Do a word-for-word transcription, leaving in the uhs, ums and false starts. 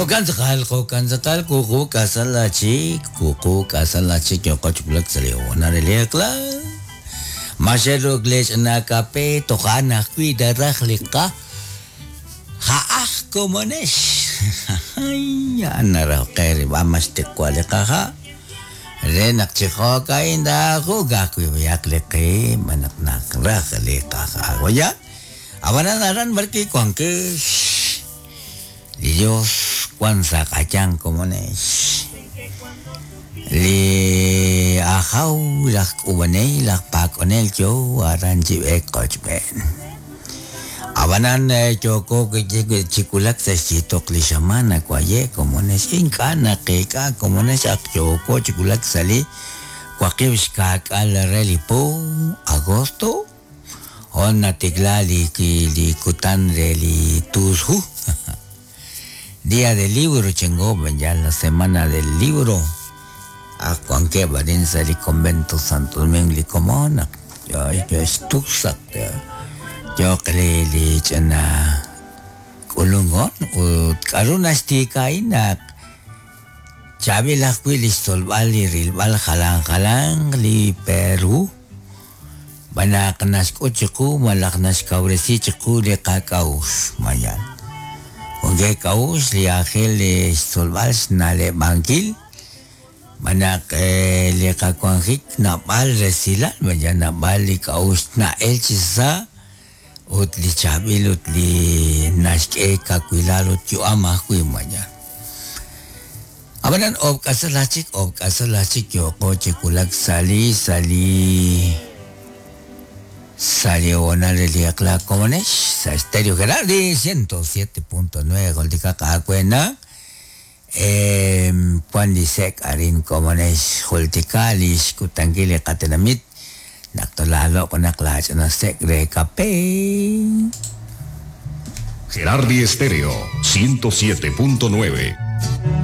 Okantzakal, okantzakal, kuku kasalachik, kuku kasalachik, yokochkulak saliwanareliakla. Masheruk lech nakape, tokana cuida rajlika. Jaaj komonesh. Anarauqeri, vamos te cualekaja. Renak chijoka inda, jugakwiakliqi, manaknak rajlikaja. Oya, abananaran barki cuanque. Dios kwanza kachan komonesh. Li ajaw laj kubaney laj pakonel yo aran chibek kochben. Abanan yoko chikulak sa chitok li xamana kwaye komonesh inka naqika komonesh ak yoko chikulak sali kwakib xkak al relipo agosto on natikla li li kutan reli tushu. Día del libro, chengo, ya la semana del libro. A Juan que barin sali convento Santo Domingo licomona. Yo yo estusak. Yo kle li chana kulungon ut karuna stikainak. Chabi lakwi li solbal li rilbal jalan jalan li Perú. Banak nasku chiku malak naskauresi chiku li kakaus mayan. Onge kaus li ángel li solbal nale banquil manak li kakuanjik nabal resila maya nabal li kaus na elchisa ut li chabil ut li naxke kakuilal ut yuama hui maya. Abanan ob kasalachik ob kasalachik yoko chikulak sali sali salió li akla komonesh sa Estéreo Gerardi ciento siete punto nueve goldika kakuena eh Juan Lisek arin komonesh jultika lish kutangili katenamit naktolalo konaklach na sek re kape. Gerardi Estéreo ciento siete punto nueve.